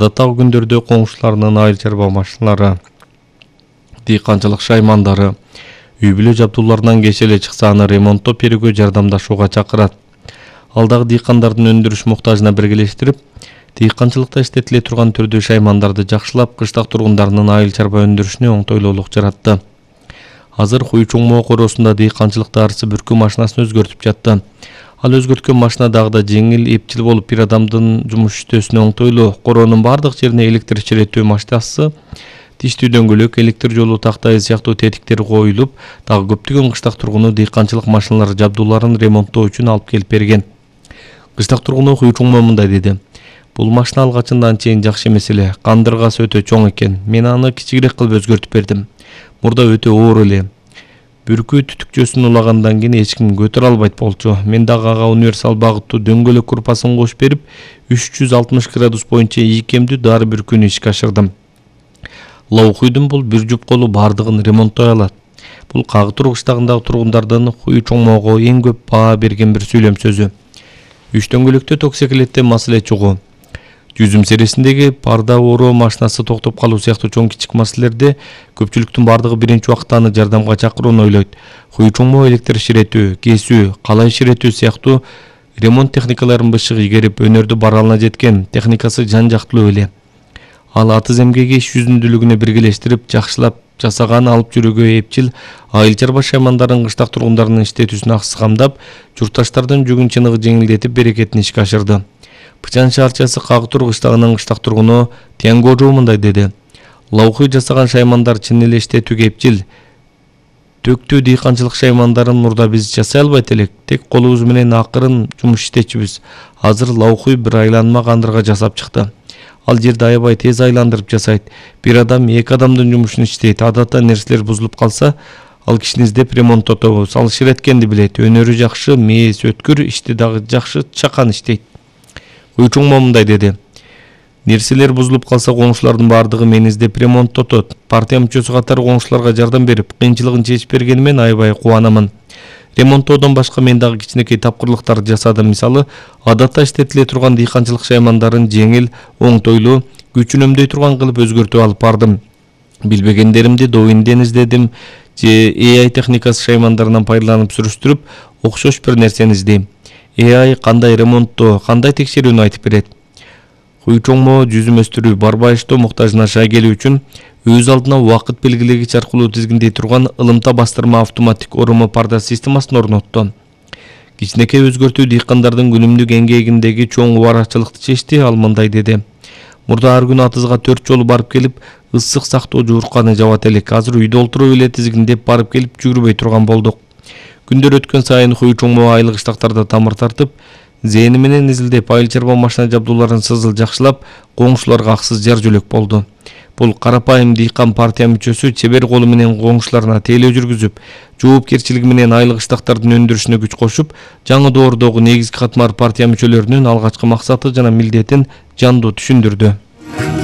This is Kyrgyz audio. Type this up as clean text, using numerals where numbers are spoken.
Адаттагы күндөрдө коңшуларынын айыл чарба машиналары, дыйканчылык шаймандары үй бүлө жабдууларынан кеш эле чыкса аны ремонттоп берүүгө жардамдашууга чакырат. Ал дагы дыйкандардын өндүрүш муктажына биргелештирип, дыйканчылыкта иштетиле турган түрдүү шаймандарды жакшылап, кыштак тургундарынын айыл чарба өндүрүшүнө оңтойлуулук жаратты. Азыр Хуй Чоңмо короосунда дыйканчылыкта арсы бүркүү машинасын өзгөртүп жатты. Ал өзгөрткөн машина дагы да жеңил, эпчил болуп, бир адамдын жумуш иштөөсүнө оңтойлуу. Короонун бардык жерине электр чиретүү машинасы, тиштүү дөңгөлөк, электр жолу тактайы сыяктуу тетиктер коюлуп, дагы көптөгөн кыштак тургуну дыйканчылык машиналары жабдууларын ремонттоо үчүн алып келип берген. Кыштак тургуну Хуй Чоңмо мындай деди: "Бул машина алгачында анчейин жакшы эмес эле. Кандыргасы өтө чоң экен. Мен аны кичигирээк кылып өзгөртүп бердим. Мурда өтө оор эле. Бүркүү түтүкчөсүн улагандан кийин эч ким көтөрө албайт болчу. Мен дагы ага универсал багыттуу дөңгөлөк курпасын кошуп берип, 360 градус боюнча ийкемдүү дары бүркүүнү ишке ашырдым. Лаухуйдун бул бир жупколу бардыгын ремонттой алат." Бул Кагытур кыштагындагы тургундардын Хуй Чоңмого эң көп баа берген бир сүйлөм сөзү. Үч дөңгөлөктө токсекилетте маселе чогуу. Жүзүм сересиндеги парда ороо машинасы токтоп калуу сыяктуу чоң кичик маселелерде көпчүлүктүн бардыгы биринчи убакта аны жардамга чакырууну ойлойт. Хуй Чоңмо электр ширетүү, кесүү, калай ширетүү сыяктуу ремонт техникаларын бышык игерип, өнөрдү баралына жеткен, техникасы жан жактылуу эле. Ал атыз эмгеги иш жүзүндүүлүгүнө биргелештирип, жакшылап жасаган алып жүрүүгө эпчил, айыл чарба шаймандарын кыштак тургундарынын иштетүүсүн аксыз камдап, журтташтардын жүгүн чыныгы жеңилдетип, берекетин ишке ашырды. Пычан шаарчасы Кагытур кыштагынын кыштак тургуну Тянгожу мындай деди: "Лаухуй жасаган шаймандар чын эле иштетүүгө эпчил. Төктүү дыйканчылык шаймандарын мурда биз жасай албайт элек. Тек колубуз менен акырын жумуш иштечүбүз. Азыр Лаухуй бир айланма кандырга жасап чыкты. Ал жерди аябай тез айландырып жасайт. Бир адам эки адамдын жумушун иштейт. Адатта нерселер бузулуп калса, ал кишини издеп ремонттотобуз. Ал ширеткенди билет. Өнөрү жакшы, мээси өткүр, ишти дагы жакшы, чакан иштейт." Хуй Чоңмо мындай деди: "Нерселер бузулуп калса, коңшулардын бардыгы мени издеп ремонттотот. Партия мүчөсү катары коңшуларга жардам берип, кыйынчылыгын чечип бергени менен аябай кубанамын. Ремонттоодон башка мен дагы кичинекей тапкырлыктарды жасадым. Мисалы, адатта иштетиле турган дыйканчылык шаймандарын жеңил, оңтойлуу, күч үнөмдөй турган кылып өзгөртүп алып бардым. Билбегендеримди Douyin издедим же AI техникасы шаймандарынан пайдаланып сүрүштүрүп, окшош бир нерсени издейм. AI кандай ремонттоо, кандай текшерүүнү айтып берет." Хуй Чоңмо жүзүм өстүрүү, барбайыштоо муктажына шай келүү үчүн өз алдына убакыт белгилегич аркылуу тизгиндей турган ылымта бастырма автоматтик оруму парда системасын орнотту. Кичинекей өзгөртүү дыйкандардын күнүмдүк эмгегиндеги чоң убарачылыкты чечти. Ал мындай деди: "Мурда ар күнү атызга 4 жолу барып келип, ысык сактоо жуурканы жабат элек. Азыр үйдө олтуруп эле тизгиндеп барып келип жүгүрбөй турган болдук." Күндөр өткөн сайын Хуй Чоңмо айыл кыштактарда тамыр тартып, зээни менен изилдеп, айыл чарба машина жабдууларын сызыл жакшылап, коңшуларга аксыз жар жөлөк болду. Бул карапайым дыйкан партия мүчөсү чебер колу менен коңшуларына тейлөө жүргүзүп, жоопкерчилиги менен айыл кыштактардын өндүрүшүнө күч кошуп, жаңы доордогу негизги катмар партия мүчөлөрүнүн алгачкы максаты жана милдетин жандуу түшүндүрдү.